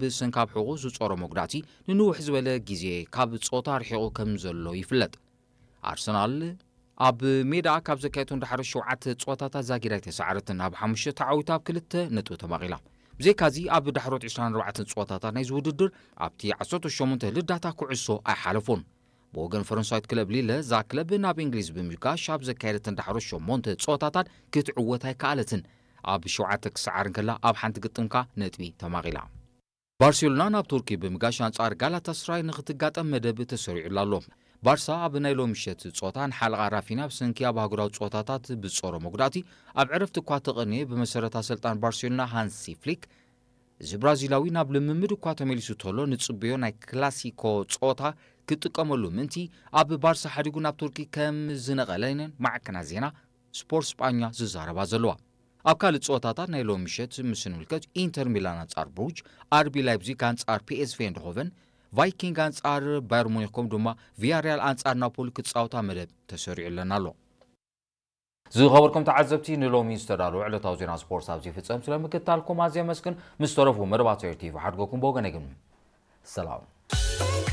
ብሰንካብ ሕቑ ዝጾሮ መጉዳእቲ ንንውሕ ዝበለ ግዜ ካብ ጾታ ርሒቑ ከም ዘሎ ይፍለጥ። ኣርሰናል ኣብ ሜዳ ካብ ዘካየቶም ዳሕሮ ሸውዓተ ጸወታታት ዛጊዳ ኣይተሳዕረትን፣ ኣብ ሓሙሽተ ተዓዊታ ኣብ ክልተ ነጥቢ ተማቒላ። ብዘይካዚ ኣብ ዳሕሮት ዕስራን ኣርባዕተን ጸወታታት ናይዚ ውድድር ኣብቲ ዓሰርተ ሸሞንተ ልዳታ ኩዕሶ ኣይሓለፎን። ብወገን ፈረንሳዊት ክለብ ሊለ፣ እዛ ክለብ ናብ እንግሊዝ ብምጋሽ ኣብ ዘካየደትን ዳሕሮት ሸሞንተ ጸወታታት ክትዕወት ኣይከኣለትን። ኣብ ሸውዓተ ክሰዓር እንከላ ኣብ ሓንቲ ግጥምካ ነጥቢ ተማቒላ። ባርሴሎና ናብ ቱርኪ ብምጋሽ ኣንጻር ጋላታስራይ ንክትጋጠም መደብ ተሰሪዑላ ኣሎ። ባርሳ ኣብ ናይ ሎሚ ምሸት ጸወታ ንሓለቓ ራፊና ብሰንኪ ኣብ ኣህጉራዊ ጸወታታት ብጾሮ መጉዳእቲ ኣብ ዕረፍቲ እኳ ተቐንየ፣ ብመሰረት ኣሰልጣን ባርሴሎና ሃንሲ ፍሊክ፣ እዚ ብራዚላዊ ናብ ልምምድ እኳ ተመሊሱ ተሎ ንጽበዮ ናይ ክላሲኮ ጸወታ ክጥቀመሉ ምእንቲ ኣብ ባርሳ ሓዲጉ ናብ ቱርኪ ከም ዝነቐለን ማዕከናት ዜና ስፖርት ስጳኛ ዝዛረባ ዘለዋ። ኣብ ካልእ ጸወታታት ናይ ሎሚ ምሸት ምስ ንምልከት፣ ኢንተር ሚላን ኣንጻር ብሩጅ፣ ኣርቢ ላይፕዚግ ኣንጻር ፒኤስቪ ኤንድሆቨን፣ ቫይኪንግ ኣንጻር ባየር ሙኒክ ከምኡ ድማ ቪያሪያል ኣንጻር ናፖሊ ክጻወታ መደብ ተሰሪዑለን ኣሎ። ዝኸበርኩም ተዓዘብቲ፣ ንሎሚ ዝተዳለወ ዕለታዊ ዜና ስፖርት ኣብዚ ይፍጸም። ስለ ምክትታልኩም ኣዝየ ኣመስግን። ምስ ተረፉ መደባት ኤር ቲቪ ሓድገኩም ብወገነይ ግን ሰላም።